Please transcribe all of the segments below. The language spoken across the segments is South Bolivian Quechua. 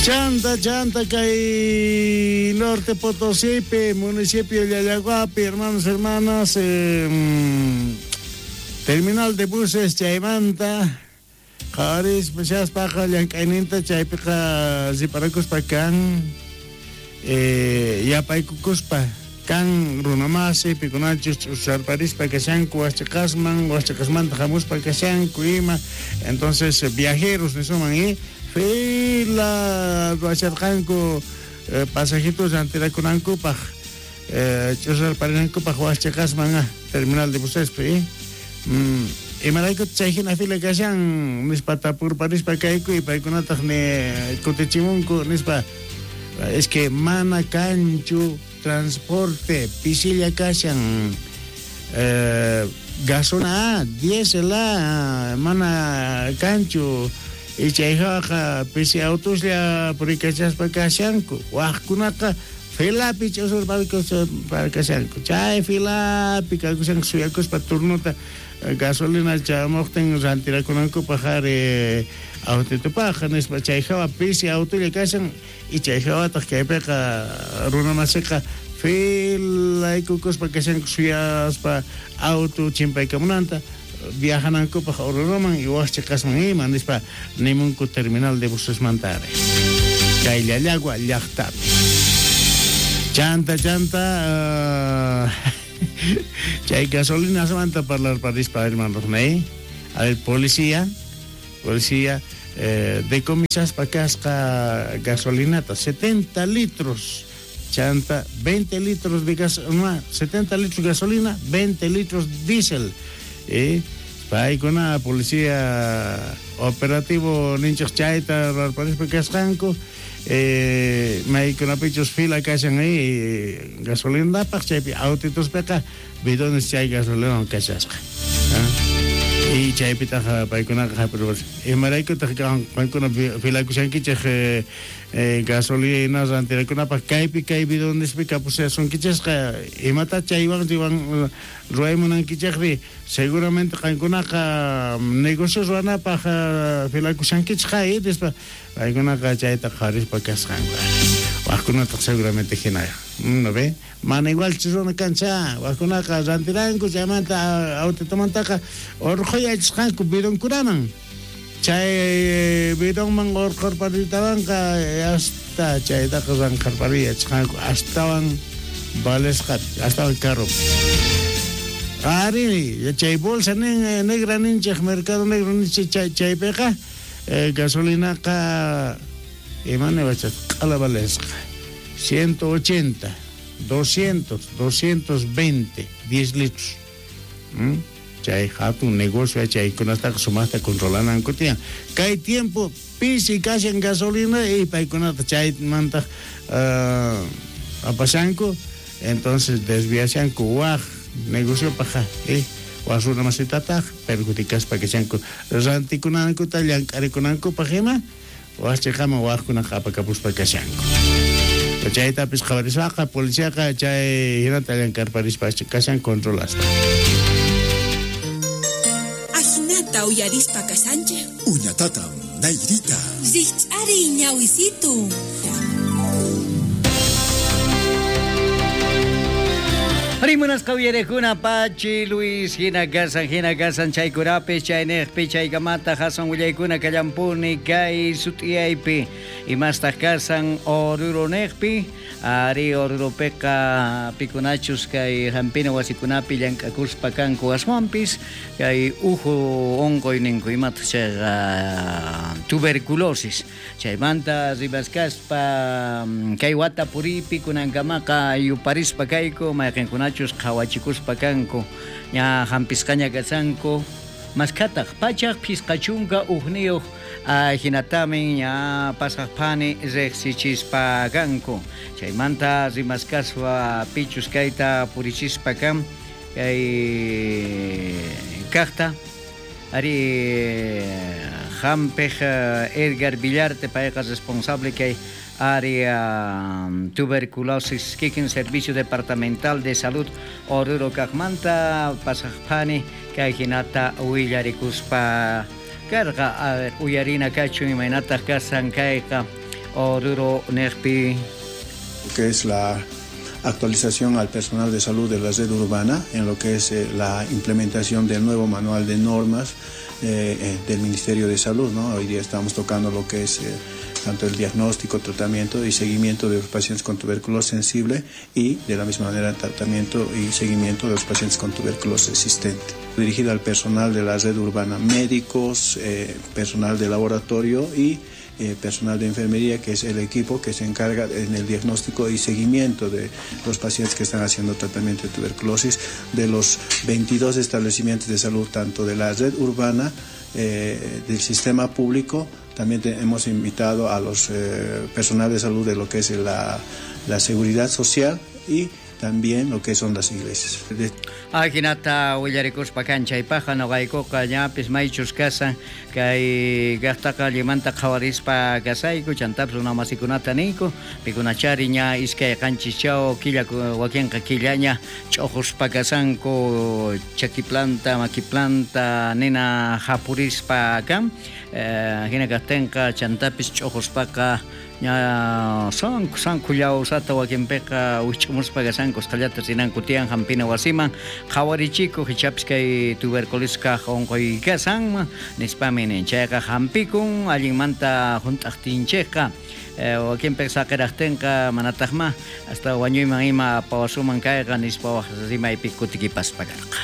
Chanta, chanta kay Norte Potosípi, municipio Llallaguapi, hermanos, hermanas, terminal de buses chaymanta qhawarispa shaspaqa llank'ayninta chaypiqa riparakuspa kan, yapaykukuspa kan runamasi pikunachus ch'usarparispa kashanku wajchiqasman, wajchiqasmanta hamuspa kashanku ima, entonces viajeros nisunman, fila ruwasharqanku pasajitos rantirakunankupaq, ch'usarparinankupaq wajchiqasman terminal de busespi, imarayku chay hina fila kashan nispa tapurparispa kayku y paykunataq ni kutichimunku nispa, es que mana kanchu transporte, pisilla kashan, gasolina, diésel, mana kanchu, y chay hawaqa pisi autoslla purikachaspa kashanku, wajkunaqa filapi ch'usurparkuspa kashanku, chay filapi kakushanku suyakuspa turnota gasolina chamuqtin rantirakunankupaq ari autitupaq nispa, chay hawa pisi autolla kashan y chay hawataq kaypiqa runamasiqa filaykukuspa kashanku suyaspa auto chimpaykamunanta viajanankupaq Oruroman y wajchiqasman ima nispa nimunku terminal de busesmanta ari kay Llallagua llaqtapi. Chanta, chanta, chay gasolinasmanta parlarparispa hermanos, ¿no? A ver, policía, policía, decomisaspa kasqa gasolinata 70 litros, chanta 20 litros de gas, no, 70 litros gasolina, 20 litros diésel. Paykuna policía operativo ninchaq chayta rarparispa kasqanku, maykunapichus fila kashan ahí gasolinapaq, chaypi autitospeqa bidones chay gasolinawan kashasqa. Y chaypitaq paykunaqa hap'irpas. Imaraykutaq qankuna filakushankichej gasolina rantirakunapaq kaypi kay bidonespi kapushasunkichejqa, imata chaywan riwan ruwaymunankichejri, seguramente qankunaqa negocio ruwanapaq filakushankichej, nispa paykunaqa chayta qhawarispa kasqanku. Wajkunataq seguramente hina, ¿no ve? Mana igual runa kancha, wajkunaqa rantiranku chaymanta autitomantaqa urqhuyachisqanku bidonkunaman. Chay bidonman urqhurparitawanqa hasta chaytaqa ranqharpariyachisqanku astawan valesqa, astawan caro. Ari, chay bolsa negra ninchej, mercado negro ninchej chaypiqa gasolinaqa imani wachas q'ala valesqa 180, 200, 220, 10 litros. Chay hatun negocio chaykunataqa sumaqta controlananku tiyan. Kay tiempo pisi kashan gasolina y paykunata chaymanta apashanku, entonces desviashanku waj negocio paja, waj runa masitataq perjudicaspa kashanku rantikunankuta llank'arikunankupaq ima waj chiqaman wajkunaqa apakapuspa kashanku. Chaytapis qhawarispaqa policiaqa chay hinata llank'arparispa kashan controlaspa. Ajinata uyarispa kashanchej. Uñatatam Nairita. Rikch'ariy ñawisitu. Rimunas qawyarekuna Pachi Luis hina kasan chaykurapis chaynejpi chaykamata hasan willaykuna kallampuni kay sut'iyaypi imastaq kasan Oruronejpi ari Oruropiqa pikunachus kay hampina wasikunapi llank'akuspa kanku aswanpis kay uhu unquy ninku imataq chayqa tuberculosis chaymanta rimaskaspa kay wata puripi kunankamaqa yuparispa kayku mayqinkunachus qhawachikuspa kanku ña hampisqaña kasanku maskhataq pachaq phisqachunka ujniyuq hinatamin ña pasaqpani riqsichispa kanku chaymanta rimaskaspa pichus kayta purichispa kan kay kaqta ari hampiq Edgar Villarte payqa responsable kay área tuberculosis kikin Servicio Departamental de Salud Oruro kaqmanta pasaqpani kay hinata willarikuspa karqa. A ver, uyarina kachun imaynataq kasan kayqa Oruro nejpi. Que es la actualización al personal de salud de la red urbana en lo que es la implementación del nuevo manual de normas del Ministerio de Salud, ¿no? Hoy día estamos tocando lo que es tanto el diagnóstico, tratamiento y seguimiento de los pacientes con tuberculosis sensible y de la misma manera tratamiento y seguimiento de los pacientes con tuberculosis resistente. Dirigido al personal de la red urbana, médicos, personal de laboratorio y personal de enfermería, que es el equipo que se encarga en el diagnóstico y seguimiento de los pacientes que están haciendo tratamiento de tuberculosis de los 22 establecimientos de salud, tanto de la red urbana, del sistema público. También hemos invitado a los personal de salud de lo que es la seguridad social y también lo que son las iglesias. Ajinata willarikuspa kan chaypaqa noqaykuqa ñapis maychus kasan kay llaqtaqa llimanta qhawarispa kasayku chantapis runa masikunata niyku pikunachari ña iskay qanchischaw killa wakinqa killaña ch'uquspa kasanku chaki planta maki planta nina hapurispa kan hina kaqtinqa chantapis ch'uquspaqa ña sanku llawsata wakinpiqa wich'umuspa kasanku usqhallata rinanku tiyan hampina wasiman qhawarichikuq ichapis kay tuberculosis kaq unquy kasanman nispami nin chayqa hampikun allinmanta hunt'aqtinchikqa wakinpiqa saqiraqtinqa manataqma hasta wañuyman ima pawasuman kayqa nispa waq rimaypi kutikipaspa karqa.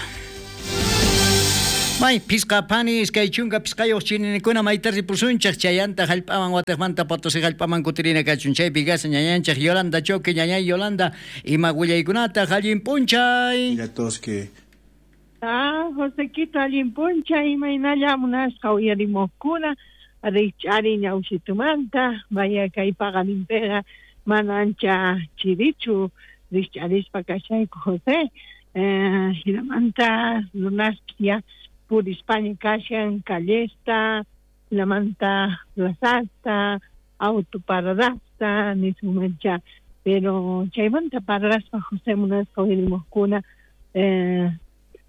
May pisqa pani iskay chunka pisqayuq chininikuna mayta ripusunchaq chayanta hallp'aman watiqmanta Potosí hallp'aman kutirina kachun chaypi kasa ñañanchaq Yolanda Choque ñañay Yolanda ima willaykunata allin p'unchay. Que Josequito allin p'unchay imaynalla munasqa uyarimuqkuna rikch'ari ñawsitumanta vaya kay paqarinpiqa mana ancha chirichu rikch'arispa kashayku José hinamanta runaspis ya purispaña kashan callesta, hinamanta plazasta, autoparadasta nisunmancha, pero chaymanta parlaspa José munasqa uyarimuqkuna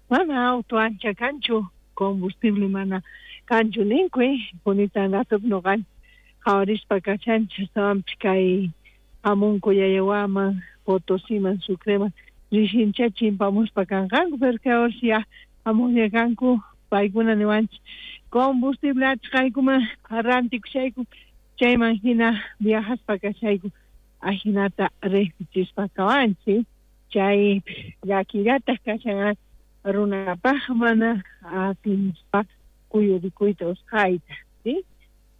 mana auto ancha kanchu combustible mana kanchu ninku punitan ratup noqanchik qhawarispa kashanchik astawanpis kay hamunku Yayawaman Potosiman Sucreman rishincha chimpamuspa kanqanku pero kay horas ya hamuqlla kanku paykuna niwanchik combustible achqaykuman rantikushayku chayman hina viajaspa kashayku ajinata riqsichispa kawanchik chay llakillataq kashan runapaq mana atinspa kuyurikuyta usqhayta ¿sí?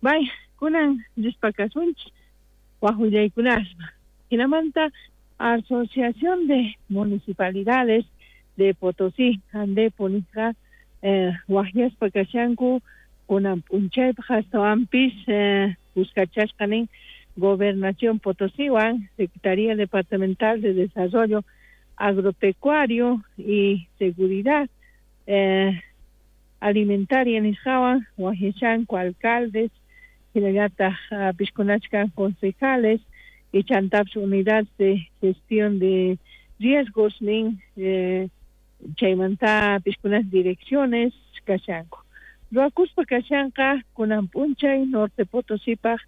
Bay kunan rispa kasunchik waq willaykunaspa hinamanta Asociación de Municipalidades de Potosí Andepo nisqa waqyaspa kashanku kunan p'unchaypaq astawanpis kuskachasqa nin Gobernación Potosíwan Secretaría Departamental de Desarrollo Agropecuario y Seguridad Alimentaria nisqawan waqyashanku alcaldes hinallataq piskunachkan concejales y chantapis unidad de gestión de riesgos nin chaymanta piskunas direcciones kashanku ruwakuspa kashanqa kunan p'unchay Norte Potosipaq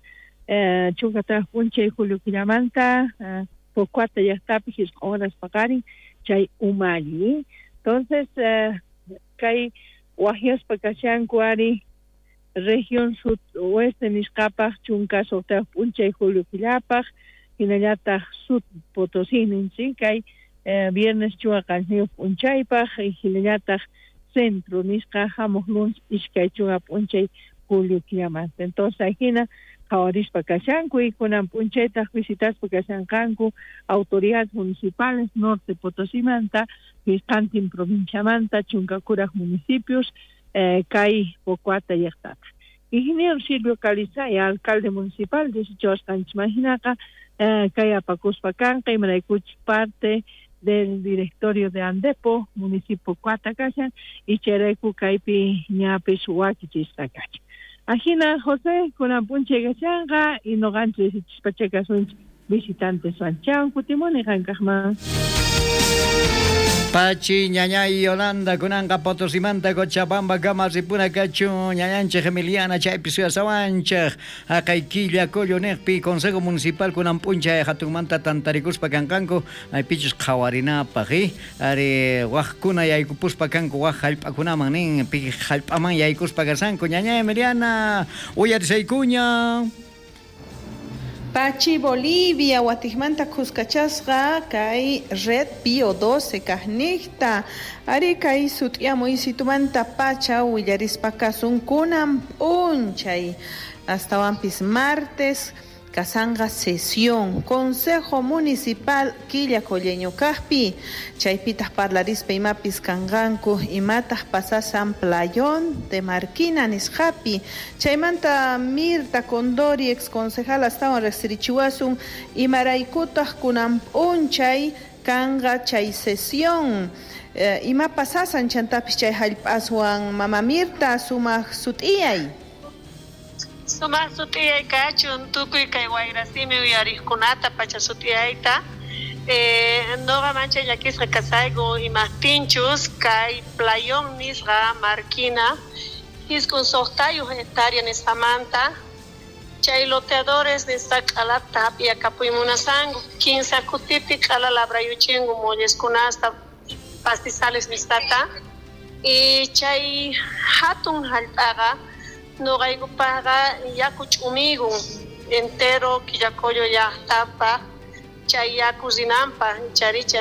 chunkataq p'unchay julio killamanta Pocoata llaqtapi hisq'un horas paqarin chay umalli entonces kay waqyaspa kashanku ari región sudoeste nisqapaq chunka suqtayuq p'unchay julio killapaq hinallataq Sud Potosí ninchik kay viernes chunka qanchisniyuq p'unchaypaq hinallataq centro nisqa hamuq lunes iskay chunka p'unchay julio killamanta entonces ajina qhawarispa kashanku y kunan p'unchaytaq visitaspa kashanqanku autoridades municipales Norte Potosimanta pisqantin provinciamanta chunka kuraq municipios kay Pocoata llaqtata. Ingeniero Silvio Calizaya, alcalde municipal disichawasqanchikman hinaqa kay apakuspa kanqa imaraykuchik parte del directorio de Andepo, municipio Pocoata kashan y chayrayku kaypi ñapis wakichisqa kachan. Ajina José kunan p'unchay kashanqa y noqanchik risichispacha kasunchik visitantes wan. Chawan kutimuni qankaqman. Pachi ñañay Yolanda kunanqa Potosimanta Cochabamba kama ripuna kachun ñañanchej Emiliana chaypi suyasawanchej haqay Quillacollo niqpi Consejo Municipal kunan p'unchay hatunmanta tantarikuspa kanqanku maypichus qhawarinapaq ari wajkuna yaykupuspa kanku waj hallp'akunaman nin pi hallp'aman yaykuspa kashanku ñañay Emiliana uyarisaykuña. Pachi Bolivia, Watikmanta Cuscachasqa, kay Red Bio 12 kajniqta, ari kay sut'yamuy situmanta pacha willarispa kasun kunan p'unchay, astawanpis martes kasanqa sesión Consejo Municipal Quillacolleño kajpi, chaypitaq parlarispa imapis kanqanku imataq pasasan Playón de Marquina nisqapi, chaymanta Mirta Condori ex concejal astawan riqsirichiwasun imaraykutaq kunan p'unchay kanqa chay sesión ima pasasan chantapis chay hallp'aswan mama Mirta sumaq sut'iyay. Sumaq sut'iyay kachun tukuy kay wayrasimi uyariqkunata pacha sut'iyayta noqa manchay llakisqa kasayku imaqtinchus kay Playón nisqa Marquina 26 hectárea nisqamanta chay loteadores nisqa q'alata hap'iyakapuymunasanku 15 kutipi q'ala labrayuchinku molleskunasta pastizales nisqata y chay hatun hallp'aqa noqaykupaqqa yaku ch'umigun entero Quillacollo llaqtapaq chay yaku rinanpaq charicha